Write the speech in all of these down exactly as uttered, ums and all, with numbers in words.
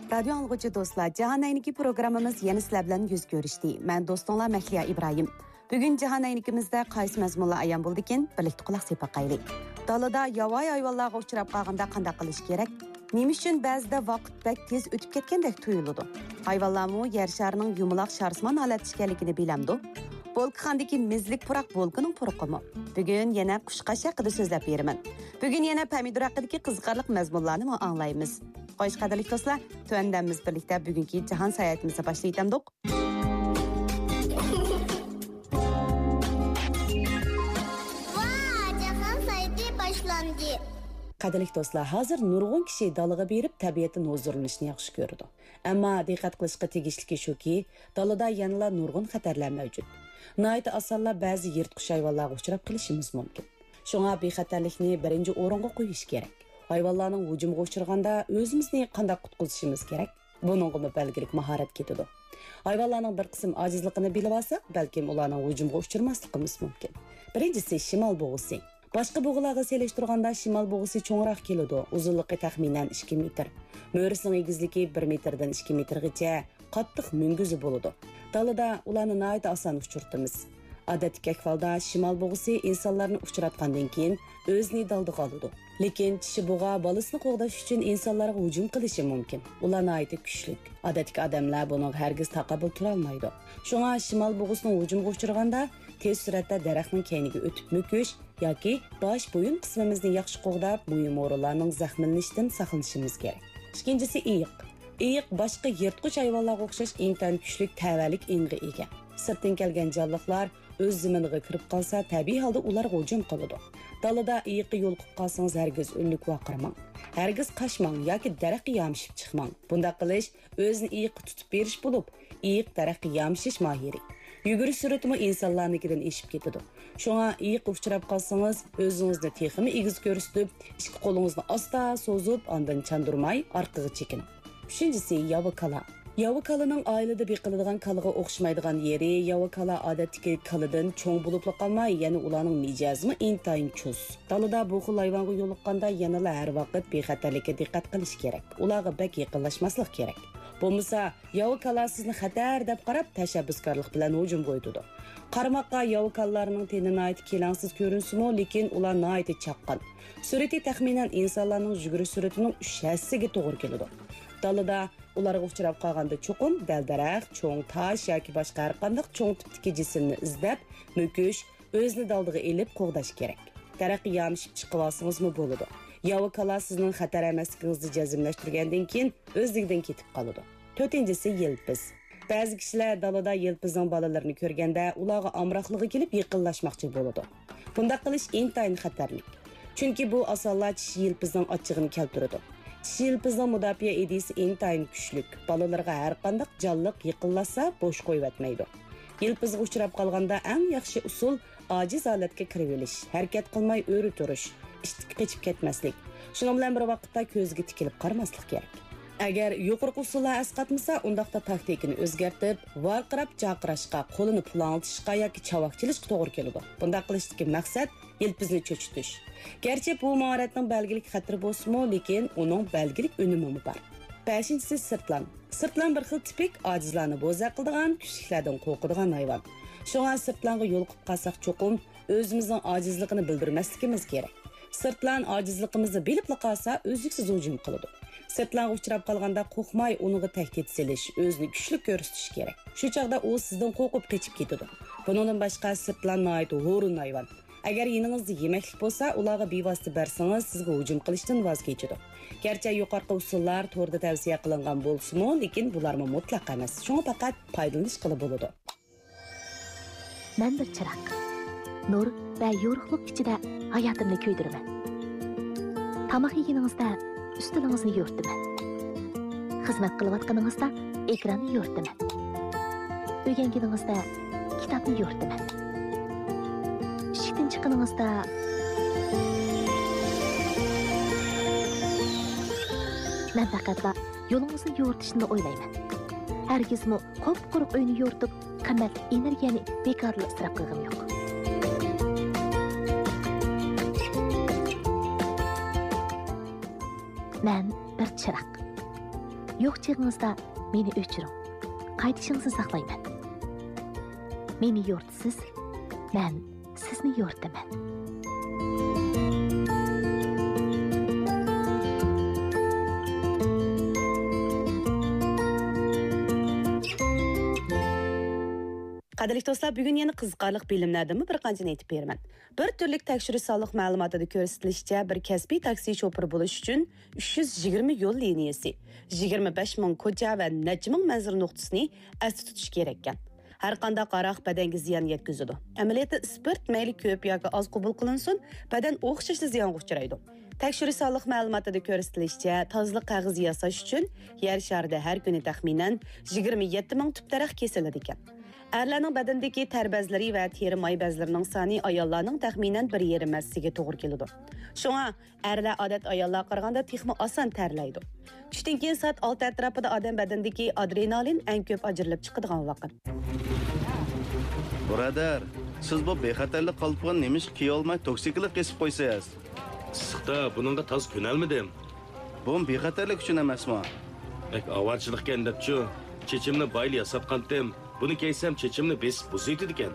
رادىيو ئاڭلىغۇچى دوستلار، جاھان ئەينىكى پروگراممىمىز يەنە سىلەر بىلەن يۈز كۆرۈشتى. مەن دوستۇڭلار مەھلىيا ئىبراھىم. بۈگۈن جاھان ئەينىكىمىزدە قايسى مەزمۇنلار ئايان بولدىكىن، بىرلىكتە قۇلاق سېلىپ باقايلى. دالىدا ياۋايى ھايۋانلارغا ئۇچراپ قالغاندا قانداق قىلىش كېرەك؟ نېمە ئۈچۈن بەزىدە ۋاقىت بەك تېز ئۆتۈپ كەتكەندەك تۇيۇلىدۇ؟ ھايۋانلارمۇ يەر شارىنىڭ يۇمىلاق شارسىمان ھالەتتە ئىكەنلىكىنى بىلەمدۇ؟ بولكىخانىدىكى مېزىلىك پۇراق بولكىنىڭ پۇرىقىمۇ؟ بۈگۈن يەنە قۇشقاچ ھەققىدە سۆزلەپ بېرىمەن. بۈگۈن يەنە پەمىدۇر ھەققىدىكى قىزىقارلىق مەزمۇنلارنىمۇ ئاڭلايمىز. خوش، قەدىرلىك دوستلار، تۆۋەندە بىز بىرلىكتە بۈگۈنكى جاھان ساياھىتىمىزنى باشلاۋېتەمدۇق. ۋا، جاھان ساياھىتى باشلاندى. قەدىرلىك دوستلار، ھازىر نۇرغۇن كىشى دالىغا بېرىپ، تەبىئەتتىن ھۇزۇرلىنىشنى ياخشى كۆرىدۇ. ئەمما دىققەت قىلىشقا تېگىشلىكى شۇكى، دالىدا يەنىلا نۇرغۇن خەتەرلەر مەۋجۇت. ناھايىتى ئاسانلا بەزى يىرتقۇچ ھايۋانلارغا ئۇچراپ قېلىشىمىز مۇمكىن. شۇڭا بىخەتەرلىكنى بىرىنچى ئورۇنغا قويۇش كېرەك. ھايۋانلارنىڭ ھۇجۇمىغا ئۇچرىغاندا ئۆزىمىزنى قانداق قۇتقۇزۇشىمىز كېرەك؟ بۇنىڭغىمۇ بەلگىلىك ماھارەت كېتىدۇ. ھايۋانلارنىڭ بىر قىسىم ئاجىزلىقىنى بىلىۋالساق، بەلكىم ئۇلارنىڭ ھۇجۇمىغا ئۇچرىماسلىقىمىز مۇمكىن. بىرىنچىسى، شىمال بۇغىسى. باشقا بۇغىلارغا سېلىشتۇرغاندا شىمال بۇغىسى چوڭراق كېلىدۇ، ئۇزۇنلۇقى تەخمىنەن ئىككى مېتىر. مۈرىسىنىڭ ئېگىزلىكى بىر مېتىردىن ئىككى مېتىرغىچە، قاتتىق مۈڭگۈزى بولىدۇ. دالىدا ئۇلارنى ناھايىتى ئاسان ئۇچرىتىمىز. ئادەتتىكى ئەھۋالدا شىمال بۇغىسى ئىنسانلارنى ئۇچراتقاندىن كېيىن ئۆزىنى دالدىغا ئالىدۇ. لېكىن چىشى بۇغا بالىسىنى قوغداش ئۈچۈن ئىنسانلارغا ھۇجۇم قىلىشى مۇمكىن. ئۇلار ناھايىتى كۈچلۈك. ئادەتتىكى ئادەملەر بۇنىڭغا ھەرگىز تاقابىل تۇرالمايدۇ. شۇڭا شىمال بۇغىسىنىڭ ھۇجۇمىغا ئۇچرىغاندا تېز سۈرئەتتە دەرەخنىڭ كەينىگە ئۆتۈپ مۆكۈش ياكى باش، بويۇن قىسمىمىزنى ياخشى قوغداپ، مۇھىم ئورۇنلارنىڭ زەخىملىنىشىدىن ساقلىنىشىمىز كېرەك. ئىككىنچىسى، ئېيىق. ئېيىق باشقا يىرتقۇچ ھايۋانلارغا ئوخشاش ئىنتايىن كۈچلۈك تەۋەلىك ئېڭىغا ئىگە. سىرتتىن كەلگەن جانلىقلار ئۆز زېمىنىغا كىرىپ قالسا، تەبىئىي ھالدا ئۇلارغا ھۇجۇم قىلىدۇ. دالىدا ئېيىققا يولۇقۇپ قالسىڭىز، ھەرگىز ئۈنلۈك ۋارقىرىماڭ. ھەرگىز قاچماڭ ياكى دەرەخكە يامىشىپ چىقماڭ. بۇنداق قىلىش ئۆزىنى ئېيىققا تۇتۇپ بېرىش بولۇپ، ئېيىق دەرەخكە يامىشىش ماھىرى. يۈگۈرۈش سۈرئىتىمۇ ئىنسانلارنىڭكىدىن ئېشىپ كېتىدۇ. شۇڭا ئېيىققا ئۇچراپ قالسىڭىز، ئۆزىڭىزنى تېخىمۇ ئېگىز كۆرسىتىپ، ئىككى قولىڭىزنى ئاستا سوزۇپ، ئاندىن چاندۇرماي ئارقىغا چېكىنىڭ. ئۈچىنچىسى، ياۋا كالا. ياۋا كالىنىڭ ئائىلىدە بېقىلىدىغان كالىغا ئوخشىمايدىغان يېرى، ياۋا كالا ئادەتتىكى كالىدىن چوڭ بولۇپلا قالماي، يەنە ئۇلارنىڭ مىجەزىمۇ ئىنتايىن چۇس. دالىدا بۇ خىل ھايۋانغا يولۇققاندا يەنىلا ھەر ۋاقىت بىخەتەرلىككە دىققەت قىلىش كېرەك. ئۇلارغا بەك يېقىنلاشماسلىق كېرەك. بولمىسا، ياۋا كالا سىزنى خەتەر دەپ قاراپ، تەشەببۇسكارلىق بىلەن ھۇجۇمغا ئۆتىدۇ. قارىماققا ياۋا كالىلارنىڭ تېنى ناھايىتى كېلەڭسىز كۆرۈنسىمۇ، لېكىن ئۇلار ناھايىتى چاققان. سۈرئىتى تەخمىنەن ئىنسانلارنىڭ يۈگۈرۈش سۈرئىتىنىڭ ئۈچ ھەسسىگە توغرا كېلىدۇ. دالىدا ئۇلارغا ئۇچراپ قالغاندا چوقۇم دەل-دەرەخ، چوڭ تاش ياكى باشقا ھەرقانداق چوڭ تىپتىكى جىسىمنى ئىزدەپ، مۆكۈش، ئۆزىنى دالدىغا ئېلىپ قوغداش كېرەك. دەرەخكە يامىشىپ چىقىۋالسىڭىزمۇ بولىدۇ. ياۋا كالا سىزنىڭ خەتەر ئەمەسلىكىڭىزنى جەزملەشتۈرگەندىن كېيىن ئۆزلۈكىدىن كېتىپ قالىدۇ. تۆتىنچىسى، يىلپىز. بەزى كىشىلەر دالىدا يىلپىزنىڭ بالىلىرىنى كۆرگەندە ئۇلارغا ئامراقلىقى كېلىپ يېقىنلاشماقچى بولىدۇ. بۇنداق قىلىش ئىنتايىن خەتەرلىك. چۈنكى بۇ ئاسانلا چىشى يىلپىزنىڭ ئاچچىقىنى كەلتۈرىدۇ. چىشى يىلپىزنىڭ مۇداپىئە ئىدىيىسى ئىنتايىن كۈچلۈك. بالىلىرىغا ھەرقانداق جانلىق يېقىنلاشسا بوش قويۇۋەتمەيدۇ. يىلپىزغا ئۇچراپ قالغاندا ئەڭ ياخشى ئۇسۇل ئاجىز ھالەتكە كىرىۋېلىش، ھەرىكەت قىلماي ئۆرە تۇرۇش، ئىشتىككە قېچىپ كەتمەسلىك. شۇنىڭ بىلەن بىر ۋاقىتتا كۆزىگە تىكىلىپ قارىماسلىق كېرەك. ئەگەر يۇقىرىقى ئۇسۇللار ئەسقاتمىسا، ئۇنداقتا تاكتىكىنى ئۆزگەرتىپ، ۋارقىراپ چاقىراشقا، قولىنى پۇلاڭلىتىشقا ياكى چاۋاك چېلىشقا توغرا كېلىدۇ. بۇنداق قىلىشتىكى مەقسەت يىلپىزنى چۆچۈتۈش. گەرچە بۇ ماھارەتنىڭ بەلگىلىك خەتىرى بولسىمۇ، لېكىن ئۇنىڭ بەلگىلىك ئۈنۈمىمۇ بار. بەشىنچىسى، سىرتلان. سىرتلان بىر خىل تىپىك ئاجىزلارنى بوزەك قىلىدىغان، كۈچلۈكلەردىن قورقىدىغان ھايۋان. شۇڭا سىرتلانغا يولۇقۇپ قالساق، چوقۇم ئۆزىمىزنىڭ ئاجىزلىقىنى بىلدۈرمەسلىكىمىز كېرەك. سىرتلان ئاجىزلىقىمىزنى بىلىپلا قالسا، ئۈزلۈكسىز ھۇجۇم قىلىدۇ. سىرتلانغا ئۇچراپ قالغاندا قورقماي ئۇنىڭغا تەھدىت سېلىش، ئۆزىنى كۈچلۈك كۆرسىتىش كېرەك. شۇ چاغدا ئۇ سىزدىن قورقۇپ قېچىپ كېتىدۇ. بۇنىڭدىن باشقا سىرتلان ناھايىتى ھورۇن ھايۋان. ئەگەر يېنىڭىزدا يېمەكلىك بولسا، ئۇلارغا بىۋاسىتە بەرسىڭىز، سىزگە ھۇجۇم قىلىشتىن ۋاز كېچىدۇ. گەرچە يۇقىرىقى ئۇسۇللار توردا تەۋسىيە قىلىنغان بولسىمۇ، لېكىن بۇلارمۇ مۇتلەق ئەمەس. شۇڭا پەقەت پايدىلىنىشقىلا بولىدۇ. مەن بىر چىراغ. نۇر ۋە يورۇقلۇق ئىچىدە ھاياتىمنى كۆيدۈرىمەن. تاماق يېگىنىڭىزدە ئۈستىلىڭىزنى يورۇتىمەن. خىزمەت قىلىۋاتقىنىڭىزدا ئېكراننى يورۇتىمەن. ئۆگەنگىنىڭىزدە كىتابنى يورۇتىمەن. ئىشىكتىن چىققىنىڭىزدا مەن پەقەتلا يولىڭىزنى يورۇتۇشنىلا ئويلايمەن. ھەرگىزمۇ قۇپقۇرۇق ئۆينى يورۇتۇپ، قىممەتلىك ئېنېرگىيەنى بىكارلا ئىسراپ قىلغىنىم يوق. مەن بىر چىراغ. يوق چېغىڭىزدا مېنى ئۆچۈرۈڭ. قايتىشىڭىزنى ساقلايمەن. مېنى يورۇتىسىز، مەن سىزنى يورۇتىمەن. قەدىرلىك دوستلار، بۈگۈن يەنە قىزىقارلىق بىلىملەردىنمۇ بىر قانچىنى ئېيتىپ بېرىمەن. بىر تۈرلۈك تەكشۈرۈش سانلىق مەلۇماتىدا كۆرسىتىلىشىچە، بىر كەسپىي تاكسى شوپۇرى بولۇش ئۈچۈن ئۈچ يۈز يىگىرمە يول لىنىيەسى، يىگىرمە بەش مىڭ كوچا ۋە نەچچە مىڭ مەنزىرە نۇقتىسىنى ئەستە تۇتۇش كېرەككەن. ھەرقانداق ھاراق بەدەنگە زىيان يەتكۈزىدۇ. ئەمەلىيەتتە ئىسپىرت مەيلى كۆپ ياكى ئاز قوبۇل قىلىنسۇن، بەدەن ئوخشاشلا زىيانغا ئۇچرايدۇ. تەكشۈرۈش سانلىق مەلۇماتىدا كۆرسىتىلىشىچە، تازىلىق قەغىزى ياساش ئۈچۈن يەر شارىدا ھەر كۈنى تەخمىنەن يىگىرمە يەتتە مىڭ تۈپ دەرەخ كېسىلىدىكەن. ئەرلەرنىڭ بەدىنىدىكى تەر بەزلىرى ۋە تېرە ماي بەزلىرىنىڭ سانى ئاياللارنىڭ تەخمىنەن بىر يېرىم ھەسسىسىگە توغرا كېلىدۇ. شۇڭا ئەرلەر ئادەتتە ئاياللارغا قارىغاندا تېخىمۇ ئاسان تەرلەيدۇ. چۈشتىن كېيىن سائەت ئالتە ئەتراپىدا ئادەم بەدىنىدىكى ئادرېنالىن ئەڭ كۆپ ئاجرىلىپ چىقىدىغان ۋاقىت. بۇرادەر، سىز بۇ بىخەتەرلىك قالپىقىنى نېمىشقا كىيەلمەي توكسىكلىق كېسىپ قويىسىز؟ ئىسسىقتا بۇنىڭغا تازا كۆنەلمىدىم. بۇمۇ بىخەتەرلىك ئۈچۈن ئەمەسمۇ؟ بەك ئاۋارىچىلىقكەن دەپچۇ. چېچىمنى بايىلى ياساتقانتىم. بۇنى كىيسەم چېچىمنى بېسىپ بۇزىۋېتىدىكەن.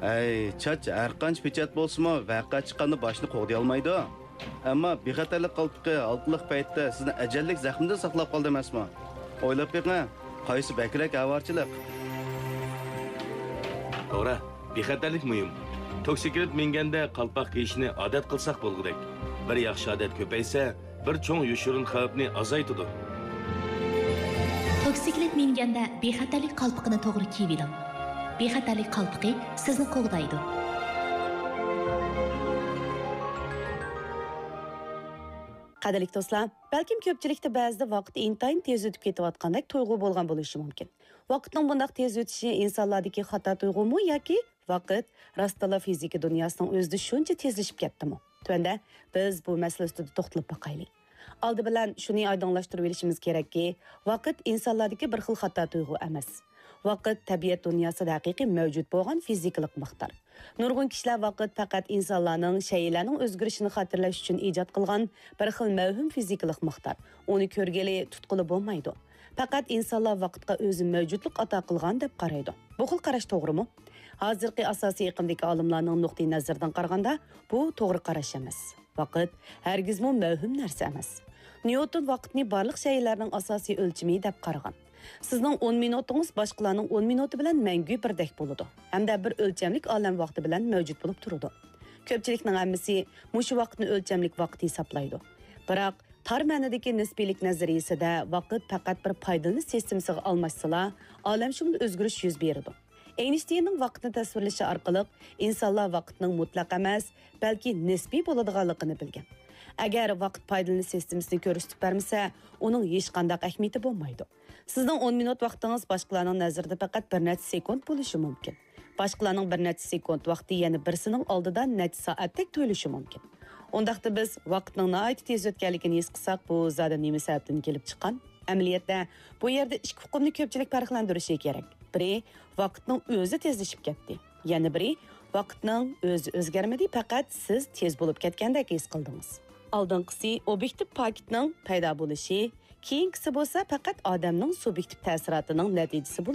ھەي، چاچ ھەرقانچە پېچەت بولسىمۇ، ۋەقە چىققاندا باشنى قوغدىيالمايدۇ. ئەمما بىخەتەرلىك قالپىقى ھالقىلىق پەيتتە سىزنى ئەجەللىك زەخمىدىن ساقلاپ قالدى ئەمەسمۇ؟ ئويلاپ بېقىڭ، قايسى بەكرەك ئاۋارىچىلىق؟ توغرا، بىخەتەرلىك مۇھىم. توكسىكلىت مىنگەندە قالپاق كىيىشنى ئادەت قىلساق بولغۇدەك. بىر ياخشى ئادەت كۆپەيسە، بىر چوڭ يوشۇرۇن خەۋپنى ئازايتىدۇ. توكسىكلىت مىنگەندە بىخەتەرلىك قالپىقىنى توغرا كىيىۋېلىڭ. بىخەتەرلىك قالپىقى سىزنى قوغدايدۇ. قەدىرلىك دوستلار، بەلكىم كۆپچىلىكتە بەزىدە ۋاقىت ئىنتايىن تېز ئۆتۈپ كېتىۋاتقاندەك تۇيغۇ بولغان بولۇشى مۇمكىن. ۋاقىتنىڭ بۇنداق تېز ئۆتۈشى ئىنسانلاردىكى خاتا تۇيغۇمۇ ياكى ۋاقىت راستتىنلا فىزىكا دۇنياسىنىڭ ئۆزىدە شۇنچە تېزلىشىپ كەتتىمۇ؟ تۆۋەندە بىز بۇ مەسىلە ئۈستىدە توختىلىپ باقايلى. ئالدى بىلەن شۇنى ئايدىڭلاشتۇرۇۋېلىشىمىز كېرەككى، ۋاقىت ئىنسانلاردىكى بىر خىل خاتا تۇيغۇ ئەمەس. ۋاقىت تەبىئەت دۇنياسىدا ھەقىقىي مەۋجۇت بولغان فىزىكىلىق مىقدار. نۇرغۇن كىشىلەر ۋاقىت پەقەت ئىنسانلارنىڭ، شەيئىلەرنىڭ ئۆزگىرىشىنى خاتىرىلەش ئۈچۈن ئىجاد قىلغان بىر خىل مەۋھۇم فىزىكىلىق مىقدار، ئۇنى كۆرگىلى، تۇتقىلى بولمايدۇ. پەقەت ئىنسانلار ۋاقىتقا ئۆزى مەۋجۇتلۇق ئاتا قىلغان دەپ قارايدۇ. بۇ خىل قاراش توغرىمۇ؟ ھازىرقى ئاساسىي ئېقىمدىكى ئالىملارنىڭ نۇقتىئى نەزىرىدىن قارىغاندا، بۇ توغرا قاراش ئەمەس. ۋاقىت ھەرگىزمۇ مەۋھۇم نەرسە ئەمەس. نيۇتون ۋاقىتنى بارلىق شەيئىلەرنىڭ ئاساسىي ئۆلچىمى دەپ قارىغان. سىزنىڭ ئون مىنۇتىڭىز باشقىلارنىڭ ئون مىنۇتى بىلەن مەڭگۈ بىردەك بولىدۇ ھەمدە بىر ئۆلچەملىك ئالەم ۋاقتى بىلەن مەۋجۇت بولۇپ تۇرىدۇ. كۆپچىلىكنىڭ ھەممىسى مۇشۇ ۋاقىتنى ئۆلچەملىك ۋاقىت ھېسابلايدۇ. بىراق، تار مەنىدىكى نىسپىيلىك نەزەرىيىسىدە ۋاقىت پەقەت بىر پايدىلىنىش سىستېمىسىغا ئالماشسىلا، ئالەمشۇمۇل ئۆزگىرىش يۈز بېرىدۇ. ئېينىشتىيننىڭ ۋاقىتنى تەسۋىرلىشى ئارقىلىق ئىنسانلار ۋاقىتنىڭ مۇتلەق ئەمەس، بەلكى نىسپىي بولىدىغانلىقىنى بىلگەن. ئەگەر ۋاقىت پايدىلىنىش سىستېمىسىنى كۆرسىتىپ بەرمىسە، ئۇنىڭ ھېچقانداق ئەھمىيىتى بولمايدۇ. سىزنىڭ ئون مىنۇت ۋاقتىڭىز باشقىلارنىڭ نەزىرىدە پەقەت بىر نەچچە سېكۇنت بولۇشى مۇمكىن. باشقىلارنىڭ بىر نەچچە سېكۇنت ۋاقتى يەنە بىرسىنىڭ ئالدىدا نەچچە سائەتتەك تۇيۇلۇشى مۇمكىن. ئۇنداقتا بىز ۋاقىتنىڭ ناھايىتى تېز ئۆتكەنلىكىنى ھېس قىلساق، بۇ زادى نېمە سەۋەبتىن كېلىپ چىققان؟ ئەمەلىيەتتە، بۇ يەردە ئىككى ئۇقۇمنى كۆپچىلىك پەرقلەندۈرۈشى كېرەك. بىرى، ۋاقىتنىڭ ئۆزى تېزلىشىپ كەتتى. يەنە بىرى، ۋاقىتنىڭ ئۆزى ئۆزگەرمىدى، پەقەت سىز تېز بولۇپ كەتكەندەك ھېس قىلدىڭىز. ئالدىنقىسى ئوبيېكتىپ پاكىتنىڭ پەيدا بولۇشى، كېيىنكىسى بولسا پەقەت ئادەمنىڭ سۇبيېكتىپ تەسىراتىنىڭ نەتىجىسى بولۇپ